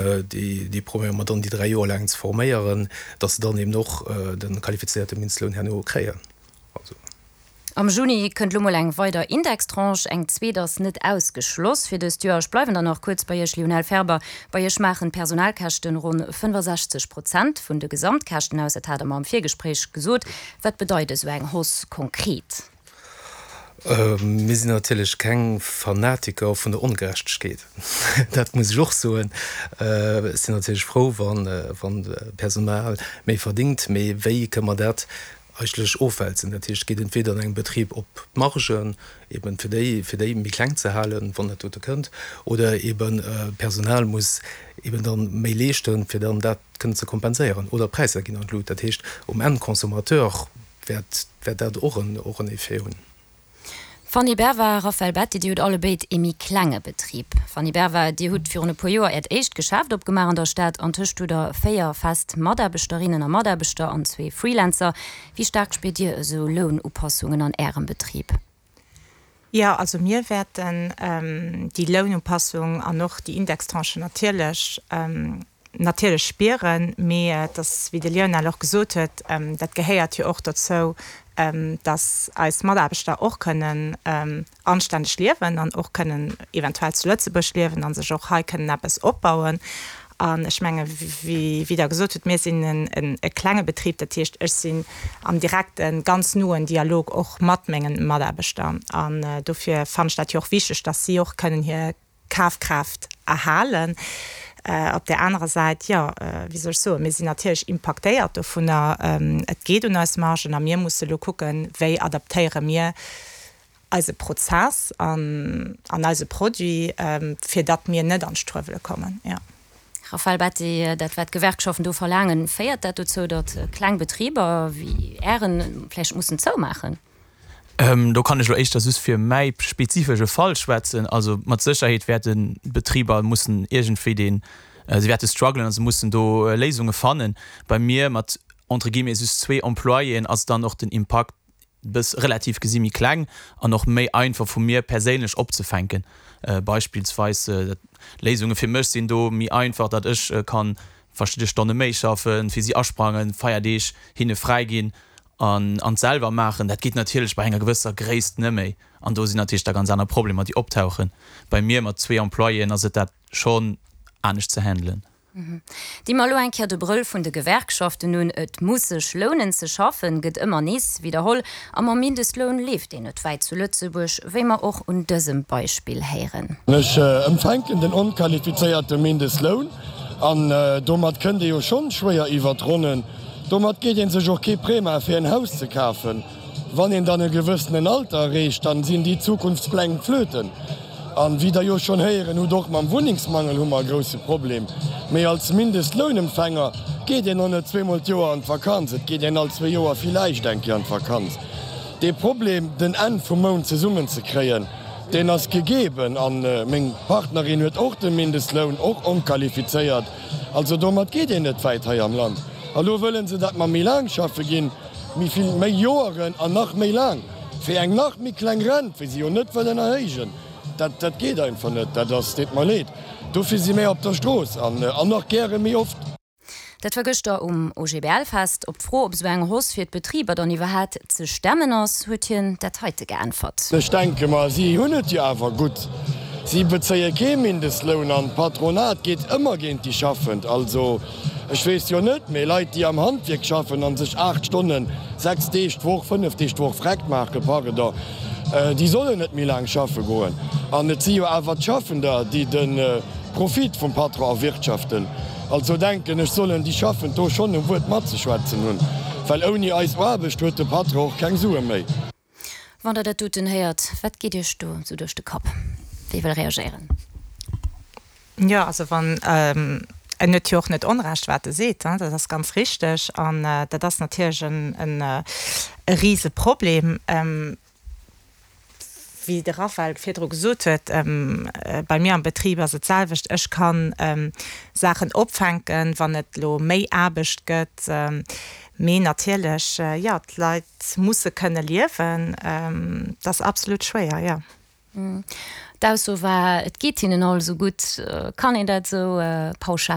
Déi probéiere mer dann déi 3 Joer laang ze forméieren, dass se dann eben och de qualifizéierte Mindestloun herno kréien. Also. Am Juni kënnt lo mol eng weider Indextranche, eng zweet ass net ausgeschloss fir dëst Joer. Ech bleiwen dann nach kuerz bei Iech, Lionel Ferber. Bei Iech maachen d'Personalkäschten ronn 65 Prozent vun de Gesamtkäschten aus. Dat hat Der mer am Virgespréich gesot. Wat bedeit esou eng Hausse konkret? Mir sinn natierlech keng Fanatiker vun der Ongerechtegkeet, dat muss ech och soen. Ech sinn natierlech frou, wann d'Personal méi verdingt, mee wéi kënne mer dat eigentlech ofwälzen? Dat heescht, et geet entweder an engem Betrib op d'Margen, eben fir déi, fir déi méi kleng ze halen, wann dat dote kënnt, oder eben d'Personal muss eben dann méi leeschten, fir dann dat kënnen ze kompenséieren, oder d'Präisser ginn an d'Lut. Dat heescht, um Endconsommateur wäert wäert dat och en och en Effet hunn. Fanny Berva, Raphaël Betti, Dir hutt allebéid ee méi klenge Betrib. Fanny Berva, Dir hutt virun e puer Joer Äert éischt Geschäft opgemaach an der Stad. Antëscht hutt Der 4 fest Mataarbechterinnen a Mataarbechter an zwee Freelancer. Wéi staark spiert Dir esou Lounupassungen an Ärem Betrib? Jo, also mir wäerten déi Lounupassung an och déi Indextranche natierlech, natierlech spieren. Mee et ass, wéi de Lionel och gesot huet, dat gehéiert jo och dozou, dass eis Mataarbechter och kënnen anstänneg liewen an och kënnen eventuell zu Lëtzebuerg liewen a sech och hei kënnen eppes opbauen. An ech menge wéi Der gesot hutt, mir sinn e klenge Betrib, dat heescht, ech sinn am direkten, ganz noen Dialog och mat mengen Mataarbechter. An dofir fannen ech dat jo och wichteg, dass si och kënnen hir Kafkraaft erhalen. Op där anerer Säit, jo, wéi soll ech soen, mir sinn natierlech impaktéiert dovunner. Et geet un eis Margen a mir musse elo kucken, wéi adaptéiere mir eise Prozess an eise Produit, fir datt mir net an d'Struewele kommen, jo. Raphaël Betti, Dat wat d'Gewerkschaften do verlaangen, féiert dat dozou, datt kleng Betriber wéi Ären vläicht mussen zoumaachen? Do kann ech elo éischter just fir mäi spezifesche Fall schwätzen. Also mat Sécherheet wäerten d'Betriber mussen iergendwéi deen, se wäerte strugglen a se mussen do Léisunge fannen. Bei mir mat entre guillemets just zwee Employéen ass dann och den Impakt bëss relativ gesi méi kleng an och méi einfach vu mir perséinlech opzefänken. Beispillsweis Léisunge fir mech sinn do méi einfach, datt ech kann verschidde Stonne méi schaffen, fir si asprangen, Feierdeeg hinne fräi ginn an an d'selwer maachen. Dat geet natierlech bei enger gewësser Gréisst neméi an do sinn natierlech da ganz aner Problemer déi optauchen. Bei mir mat zwee Employéen ass et dat schonn anescht ze handelen. Di mer elo eng Kéier de Brëll vun de Gewerkschaften un. Et muss sech lounen ze schaffen, gëtt ëmmer nees widderholl. A mam Mindestloun leeft een net wäit zu Lëtzebuerg, wéi mer och un dësem Beispill héieren. Ech empfänken den onqualifizéierte Mindestloun an domat kënnt ee jo schonn schwéier iwwert d'Ronnen. Domat geet een sech och kee Prêt maache fir en Haus ze kafen. Wann een dann e gewëssenen Alter erreecht, dann sinn déi Zukunftspläng flöten. An wéi der jo schonn héieren hutt, och mam Wunnengsmangel hu mer e grousse Problem. Mee als Mindestlounempfänger geet een och net zweemol d'Joer an d'Vakanz, et geet een all zwee Joer villäicht eng Kéier an d'Vakanz. Dee Problem, den Enn vum Mount zesummen ze kréien, deen ass gegeben. An meng Partnerin huet och de Mindestloun, och onqualifizéiert. Also domat geet een net wäit hei am Land. A lo wëllen se, datt mer méi laang schaffe ginn. Méi vill, méi Joeren an nach méi laang, fir eng nach méi kleng Rent, wéi se jo net wëllen erhéijen. Dat, dat geet einfach net. Dat ass, deet mer leed. Dofir si mär op der Strooss an, an nach gäre méi oft. Dat war gëschter um OGBL-Fest. Op d'Fro, ob esou eng Hausse fir d'Betriber dann iwwerhaat ze stemmen ass, huet hien dat heite geäntwert. Ech denke mer, si hunn et jo awer gutt. Si bezéie kee Mindestloun an d'Patronat geet ëmmer géint déi Schaffend. Also. Ech weess jo net, mee Leit déi am Handwierk schaffen an sech 8 Stonnen, 6 Deeg d'Woch, 5 Deeg d'Woch vreckt maachen, pardon, déi sollen net méi laang schaffe goen. An et si jo awer d'Schaffender déi de Profit vum Patron erwirtschaften. Also denken ech sollen déi Schaffend do schonn e Wuert matzeschwätzen hunn, well ouni eis Aarbecht huet de Patron och keng Sue méi. Wann Der dat doten héiert, wat geet Iech do esou duerch de Kapp? Wie wëll reagéieren? Jo, also wann, en huet jo och net Onrecht, wat e seet, dat ass ganz richteg. An dat ass natierlech e Riseproblem. Wéi de Raphaël virdru gesot huet, bei mir am Betrib ass et d'selwecht. Ech ka Saachen opfänken, wann et elo méi Aarbecht gëtt. Mee natierlech, jo, d'Leit musse kënne liewen. Dat ass absolut schwéier, jo. D'Ausso war, et geet hinnen all esou gutt. Kann een dat esou pauschal.